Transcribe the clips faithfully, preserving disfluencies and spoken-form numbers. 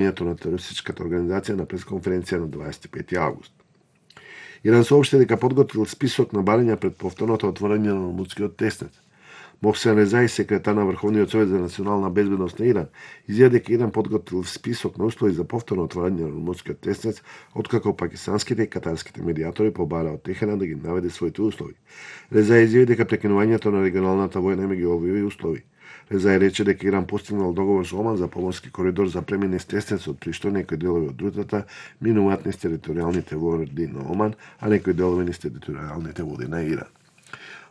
на терористичката организација на пресконференција на дваесет и пети август. Иран соопшти дека подготвил список на барања пред повторното отворање на Ормудскиот теснец. Мохсен Резаи, секретар на Врховниот совет за национална безбедност на Иран, изјави дека Иран подготвил список на услови за повторно отворање на Ормудскиот теснец, откако пакистанските и катарските медиатори побараа од Техеран да ги наведе своите услови. Резаи изјави дека прекинувањето на регионалната војна им ги објави услови. Резаи рече дека Иран постигнал договор со Оман за поморски коридор за премини с теснецот, при што некои делови од рутата минуваат низ територијалните води на Оман, а некои делови низ територијалните води на Иран.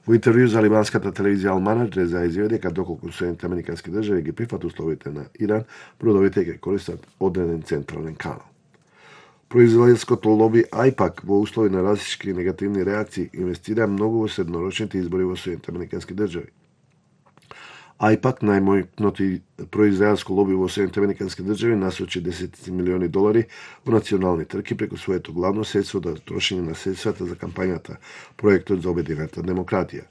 Во интервју за либанската телевизија Ал-Манар, Резаи изјави дека доколку Соединените американски држави ги прифат условите на Иран, бродовите ќе користат одреден централен канал. Производителското лоби ајпак во услови на различни негативни реакции инвестира многу во среднорочните избори во Соединените американски држави. ајпак, најмојното производителско лоби во Соединените американски држави, насочи десетици милиони долари во национални трки преку своето главно средство да трошење на средствата за кампањата, проектот за обединената демократија.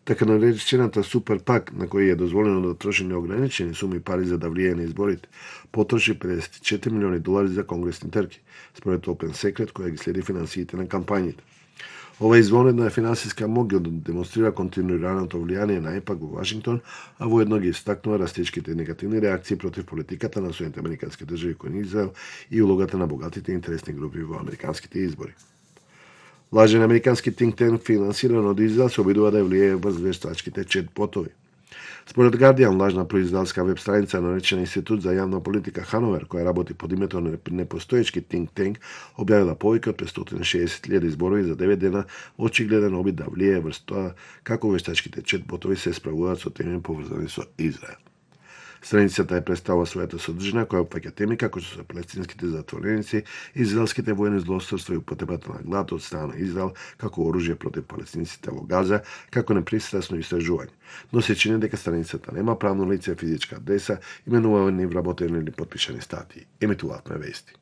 Така наречената Супер пак, на кој е дозволено да троши неограничени суми пари за да влијае на изборите, потроши педесет и четири милиони долари за конгресни трки, според Open Secret, која ги следи финансиите на кампањите. Ова извонредна финансиска моќ ги демонстрира континуираното влијание на ајпак во Вашингтон, а воедно ги истакнува растечките негативни реакции против политиката на Соединените американски држави кон Израел и улогата на богатите интересни групи во американските избори. Лажен американски think tank финансиран од Израел се обидува да влијае врз вештачките чет-ботови. Според Guardian, лажна производителска веб страница наречена Институт за јавна политика Хановер, која работи под името на непостоечки think tank, објавила повеќе од петстотини и шеесет илјади зборови за девет дена, очигледен обид да влијае врз тоа како вештачките чет-ботови се справуваат со теми поврзани со Израел. Страницата е представува својата содржина која опфаќа теми како што се палестинските затвореници, израелските воени злосторства и употребата на глад од страна на Израел како оружје против палестинците во Газа, како непристрасно истражување. Но се чини дека страницата нема правно лице, физичка адреса, именувани, вработени или подпишани статии. Емитуваат ме вести.